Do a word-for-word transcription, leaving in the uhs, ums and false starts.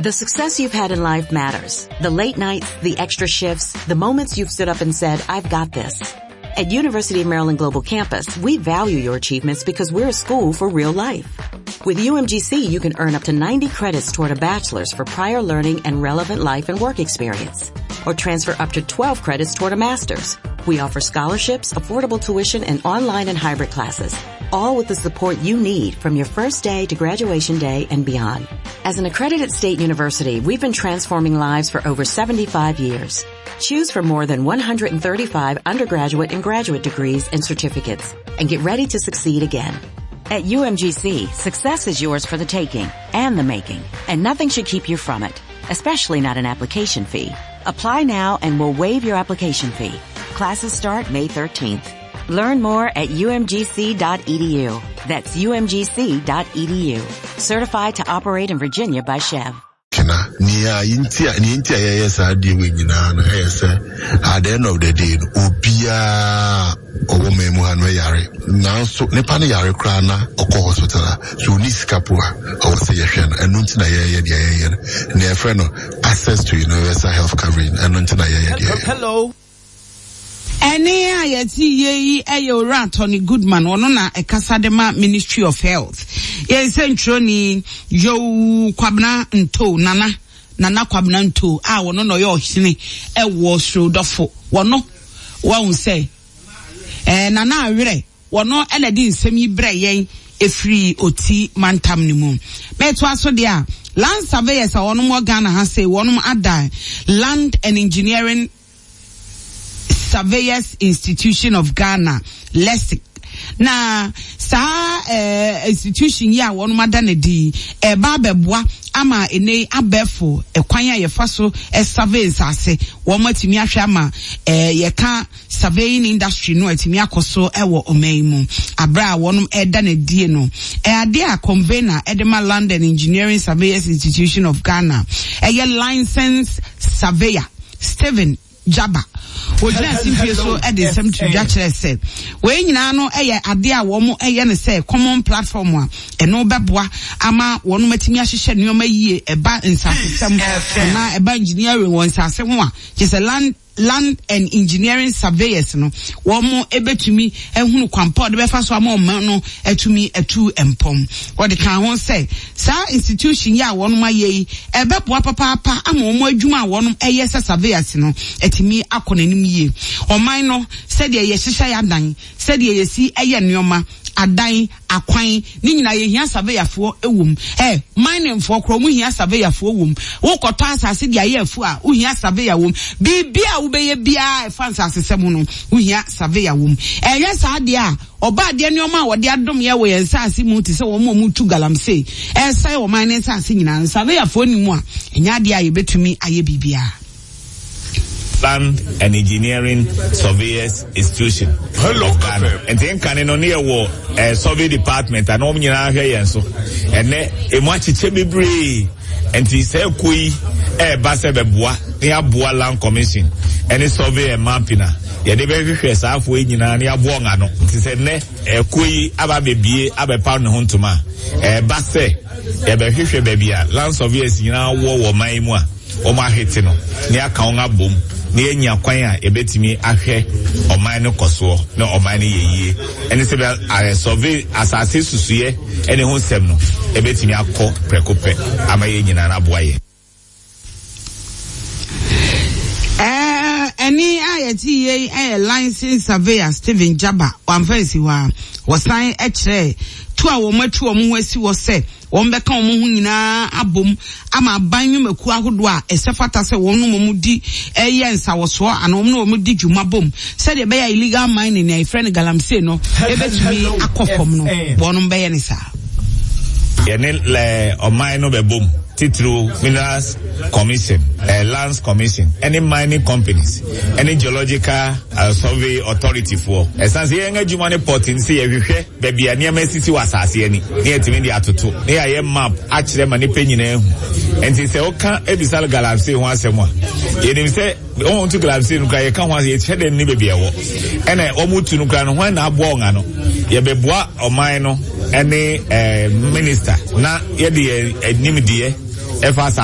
The success you've had in life matters. The late nights, the extra shifts, the moments you've stood up and said, I've got this. At University of Maryland Global Campus, we value your achievements because we're a school for real life. With U M G C, you can earn up to ninety credits toward a bachelor's for prior learning and relevant life and work experience, or transfer up to twelve credits toward a master's. We offer scholarships, affordable tuition, and online and hybrid classes, all with the support you need from your first day to graduation day and beyond. As an accredited state university, we've been transforming lives for over seventy-five years. Choose from more than one hundred thirty-five undergraduate and graduate degrees and certificates, and get ready to succeed again. At U M G C, success is yours for the taking and the making, and nothing should keep you from it, especially not an application fee. Apply now and we'll waive your application fee. Classes start May thirteenth. Learn more at U M G C dot E D U. That's U M G C dot E D U. Certified to operate in Virginia by C H E V. Nia intia ni intia yes I deal with at the end of the day obia owo mu ha no yare nanso nipa ne yare kra na okọ hospital so ni sikapo a o se ye hwe no enu nti na ye ye de ye ye na ye frɛ no access to universal health coverage enu nti na ye ye de. Hello. Ene ayeti ye eye ora Tony Goodman ono na ekasa de ma Ministry of Health. Ye sentro ni yo Kwabena Nto Nana Nana Kwabena Nto a wono no ye ohene e wo srodofo wono wa un se eh Nana awere wono e na di nsem yi bre yen efiri oti mantam ni mu. Meto aso de a land surveyors a wono mo Ghana ha say wono ada Land and Engineering Surveyors Institution of Ghana, LESIC. Na saa eh, institution ya wonu madane di e ba beboa ama ene abefo ekwan a yefa so e survey nsase wo matimi ahwe ama eh yeka surveying industry no atimi akoso e wo oman mu abra wonu e da na die no e ade a convener e de ma Land and Engineering Surveyors Institution of Ghana e ye license surveyor Stephen Jabba ojina simpie so e de nsem to dwa kire se we nyina no e ye ade a wo mo e ye ne se common platform a eno beboa ama wono matimi ahyehyɛ nneoma yie eba nsasesem na eba engineering won nsase ho a kyese land land and engineering surveyors no wo mo ebetumi ehunu kwampa de befa so ama o no etumi etu empom wo de kan ho se sa institution ya wo no maye yi ebeboa papa ama wo mo adwuma wo no eye se surveyors no etumi akɔ n'anim yie oman no se de ye hyehyɛ ya dan se de ye si eye nneoma adan akwan ni nyina ye hia surveyorfo ewom eh mining fo kro mu hia surveyorfo ewom wo kɔtɔ asase de aye afu a wo hia surveyor wom bibia wo beye bia e fa asase sem no wo hia surveyor wom eh yes ade a oba ade nneoma a wode adom ye wo ye nsase mu te se wo mu tu galamsey eh sai wo mining nsase nyina surveyorfo ni mu a enya ade a ye betumi aye bibia. Land and Engineering Surveyors Institution. Hello, Ghana. And then can no near war survey department and om nyina hwe yen so. Ene emu achiche bebree. Enti se koi e ba se beboa ne aboa Land Commission ene survey and mapping na. Ye de be hwehwe saafo nyina ne aboa ngano. Nti se ne e koi aba bebie abepa ne ho ntoma. E ba se ye be hwehwe bebia land surveyors nyina wo wo man mu a o ma hete no ne aka won abom ne enya kwan a ebetimi ahwɛ ɔman no kɔsoɔ na ɔman no yɛyie ɛne sɛ bɛ survey asase susuɛ ɛne ho nsɛm no ebetimi akɔ prɛko pɛ ama yɛ nyinaa na aboa yɛ. Eh ɛne a yɛte yɛ ɛyɛ license surveyor Stephen Jabba wamfa nsi hɔ a wɔsan ɛkyerɛ to a wɔn atu wɔn ho asi wɔ sɛ wɔn bɛka wɔn ho nyinaa abom ama aban nnwumakuo ahodoɔ a ɛsɛ fata sɛ wɔn no wɔn di ɛyɛ nsawɔsoɔ ana wɔn no wɔn di dwuma bom sɛdeɛ ɛbɛyɛ illegal mining na yɛfrɛ no galamsey no ebɛtumi akɔ fam no wɔn bɛyɛ ne saa. Yɛne lɛ ɔman no bɛbom titiriw Minerals Commission, eh, Lands Commission, any mining companies, any geological uh, survey authority for. Ɛsan sɛ yɛn adwuma ne port nsi yɛhwehwɛ baabi a nneɛma sisi wɔ asase ani ne yɛtumi de atoto ne yɛayɛ map akyerɛ ma nipa nyinaa hu. Nti sɛ woka ebisa galamsey ho asɛm a yɛnim sɛ wɔn tu galamsey no kora yɛka ho asɛm yɛkyerɛ dɛm ne baabi ɛwɔ ɛna wɔn tu no kora no hwan na aboa wɔn ano yɛbɛboa ɔman no ɛne ɛɛ minister na yɛde yɛn anim deɛ ɛfa asase.